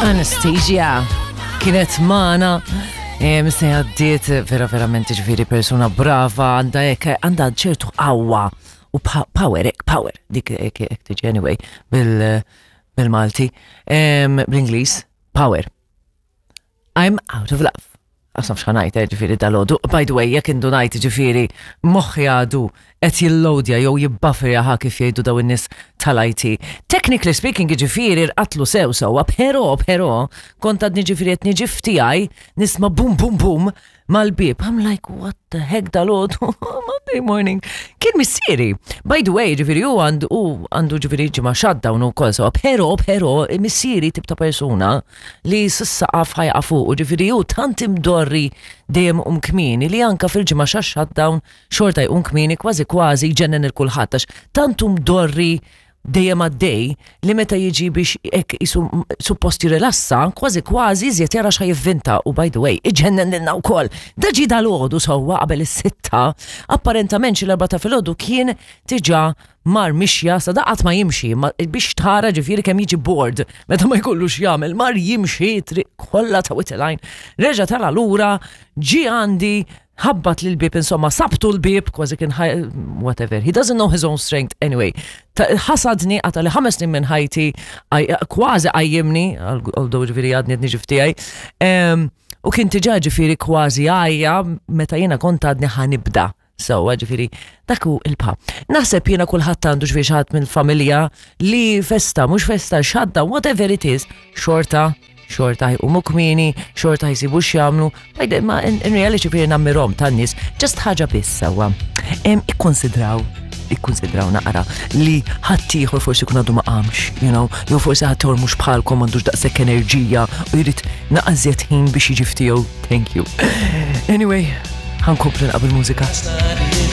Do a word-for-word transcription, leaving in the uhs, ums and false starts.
Anastasia kienet magħna. Misni għaddiet vera verament, ġifieri persuna brava, għandha hekk, għandha ċertu qawwa u power, ek, power, dik ek, ek tiġi anyway, bil-Malti, bl-Ingliż, power. I'm out of love. Għasnaf x'ħa ngħid, eh, ġifieri dalgħodu. By the way, jekk indunajt, ġifieri, moħħi għadu qed jillowdja jew jibbufferja, ħa kif jgħidu daw in-nies tal-I T. Technically speaking, ġifieri rqadtlu sew sewwa, pero, pero, kont għadni ġifieri qed niġi f'tiegħi, nisma' bum bum bum mal-bib. I'm like, "What the heck dalgħodu?" Monday morning. Kien missieri. By the way, ġifieri u għandu u għandu ġifieri ġimgħa shutdown u kol sewa, pero, pero, missieri tip ta' persuna li s-saqaf ħa jaqa' fuq, u ġifieri u tant imdorri dejjem iqum kmieni li anka fil-ġimgħa xa shutdown xorta jqum kmieni, kważi kważi jġennen lil kulħadd għax tant imdorri dejjem għaddej li meta jiġi biex ek isu suppost jirilassa, kważi kważi iżjed jara x'ħa jivvinta u, by the way, iġennen lilna wkoll. Da ġi dalgħodu sewwa qabel is-sitta, apparentament xi l-erbgħa ta' filgħodu kien diġà mar mixja sa daqat ma jimxi, ma, biex tara ġifieri kemm jiġi bored meta ma jkollux jagħmel, mar jimxi triq kollha ta' Wied il-Għajn, reġa' tala lura, ġi għandi, ħabbat lil bib, insomma, sabtu l-bib, kważi kien, whatever. He doesn't know his own strength anyway. Ħasadni, għata li ħames snin minn ħajti, kważi qajjimni, although ġifieri għadni niġi f'tiegħi. U kien diġà ġifieri kważi għajja meta jiena kont għadni ħa nibda. So, ġifieri, dak hu il-pa. Naħseb jiena kulħadd għandu ġifieri xi ħadd mill-familja li festa, mhux festa, shutdown, whatever it is, xorta xorta jqumu kmieni, xorta jsibu x'jagħmlu, ma in, in reality ġifieri nammirahom tan-nies, just ħaġa biss sewwa. Ikkonsidraw ikkonsidraw naqra li ħaddieħor forsi kun għadu ma qamx, you know, jew forsi ħaddieħor mhux bħalkom, m'għandux daqshekk enerġija u jrid naqra iżjed ħin biex jiġi f'tiegħu. Thank you. Anyway, ħa nkomplu naqbel mużika.